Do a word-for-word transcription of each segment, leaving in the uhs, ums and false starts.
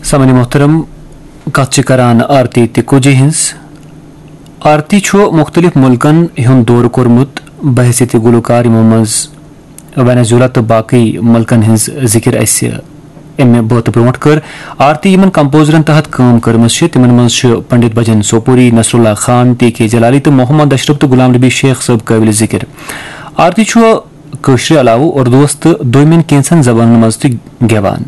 سامعین محترم، کتھ چھِ کران آرتی تکوجی ہٕنٛز۔ آرتی چھُ مُختٔلِف مُلکن ہُنٛد دورٕ کوٚرمُت بحیثیت گلوکار، یِمو منٛز وینزویلا تہٕ باقٕے مُلکن ہٕنٛز ذِکر اَسہِ اَمہِ بٲتہٕ برونٛٹھ کٔر۔ آرتی یِمن کمپوزرن تحت کٲم کٔرمٕژ چھِ، تِمن منٛز چھِ پنڈت بھجن سوپوری، نصر اللہ خان، ٹی کے جلالی تہٕ محمد اشرف تہٕ غلام نبی شیخ صٲب قٲبلِ ذِکر۔ آرتی چھُ کٲشرِ علاوٕ اردوس تہٕ دوٚیمٮ۪ن کینٛژن زبانن منٛز تہِ گٮ۪وان۔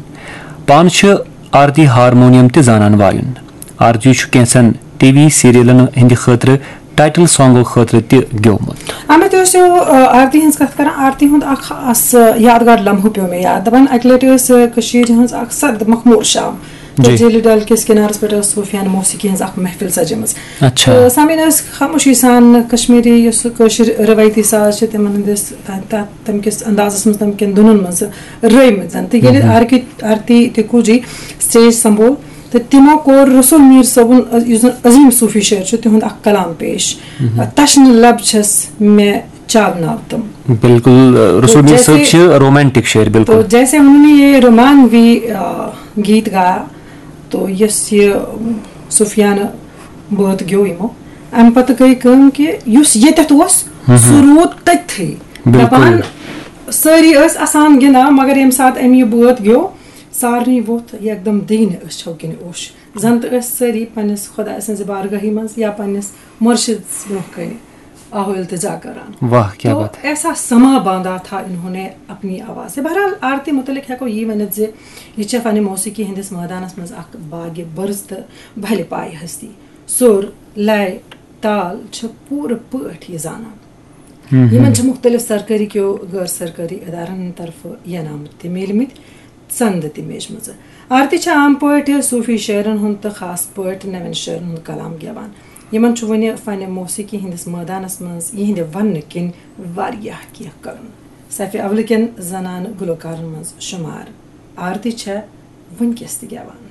پانہٕ چھِ آرتی ہارمونیم تہِ زانان وایُن۔ آرتی چھُ کینٛژن ٹی وی سیریلن ہٕنٛدِ خٲطرٕ ٹائٹل سانگو خٲطرٕ تہِ گیومُت۔ اَمہِ تہِ ٲسِو، آ، آرتی ہٕنٛز کتھ کران، آرتی ہُنٛد اکھ خاص یادگار لمحہٕ پیوٚو مےٚ یاد۔ دپان، اکہِ لٹہِ ٲس، آ، کٔشیٖرِ ہٕنٛز اکھ سرد مخمور شام۔ تہٕ جی۔ جیٖلہِ ڈل کِس کِنارس پٮ۪ٹھ ٲس صوفیانہٕ موسیقی ہٕنٛز اکھ محفل سجٲمٕژ۔ اچھا۔ تہٕ سامعین ٲسۍ خاموشی سان کشمیٖری یُس کٲشِر رٮ۪وٲیتی ساز چھِ، تِمن ہٕنٛدِس، تَتھ، تَتھ، تَمہِ کِس اندازس منٛز، تَمہِ کٮ۪ن دُنن منٛز رٲومٕتۍ زن۔ تہٕ ییٚلہِ مہم۔ آرکی-، آرتی تکوجی سٹیج سنبھول، تہٕ تِمو کوٚر رسول میٖر صٲبُن، یُس زن عظیٖم صوفی شٲعر چھُ، تِہُنٛد اکھ کلام پیش۔ مہم۔ تشنہٕ لب چھس مےٚ چاوناو تِم۔ بالکل، رسول میٖر صٲب جیسے چھِ رومانٹک شٲعر، بالکل۔ تو جیسے انہوں نے یہ رومانوی، آ، گیت گایا، تو یۄس یہِ صوفیانہٕ بٲتھ گیو یِمو، اَمہِ پتہٕ گٔے کٲم کہِ یُس ییٚتٮ۪تھ اوس، ہم ہم۔ سُہ روٗد تٔتتھٕے۔ بالکل۔ دَپان، سٲری ٲسۍ اَسان گِنٛدان، مگر ییٚمہِ ساتہٕ أمۍ یہِ بٲتھ گیو، سارنٕے ووٚتھ یکدم دِگنہِ أچھو کِنۍ اوٚش۔ زن تہٕ ٲسۍ سٲری پننِس خۄداے سٕنٛزِ بارگاہی منٛز یا پننِس مُرشِدس برونٛہہ کنہِ آہو التجا کران۔ واہ، کیا تو بات ہے۔ ایسا سما باندھا تھا انہوں نے اپنی آواز سے۔ بہرحال، آرتی متعلق ہیکو یی ؤنِتھ زِ یہِ چھےٚ فن موسیقی ہٕنٛدِس مٲدانس منٛز اکھ باگِ برز تہٕ بھلہِ پایہِ ہستی۔ سُر، لے، تال چھِ پوٗرٕ پٲٹھۍ یہِ زانان۔ ہم، ہم۔ یِمن چھِ مُختٔلِف سرکٲری کیو غٲر سرکٲری ادارن ہٕنٛدِ طرفہٕ ینامہٕ تہِ میٖلمٕتۍ، ژندٕ تہِ میجمٕژٕ۔ آرتی چھِ عام پٲٹھۍ صوٗفی شٲعرن ہُنٛد تہٕ خاص پٲٹھۍ نوٮ۪ن شٲعرن ہُنٛد کلام گٮ۪وان۔ یِمن چھُ وُنہِ فن موسیقی ہٕنٛدِس مٲدانس منٛز یِہنٛدِ وننہٕ کِنۍ واریاہ کینٛہہ کرُن۔ صفِ اولہٕ کٮ۪ن زنانہٕ گلوکارن منٛز شُمار۔ آرتی چھےٚ وُنکیٚس تہِ گٮ۪وان۔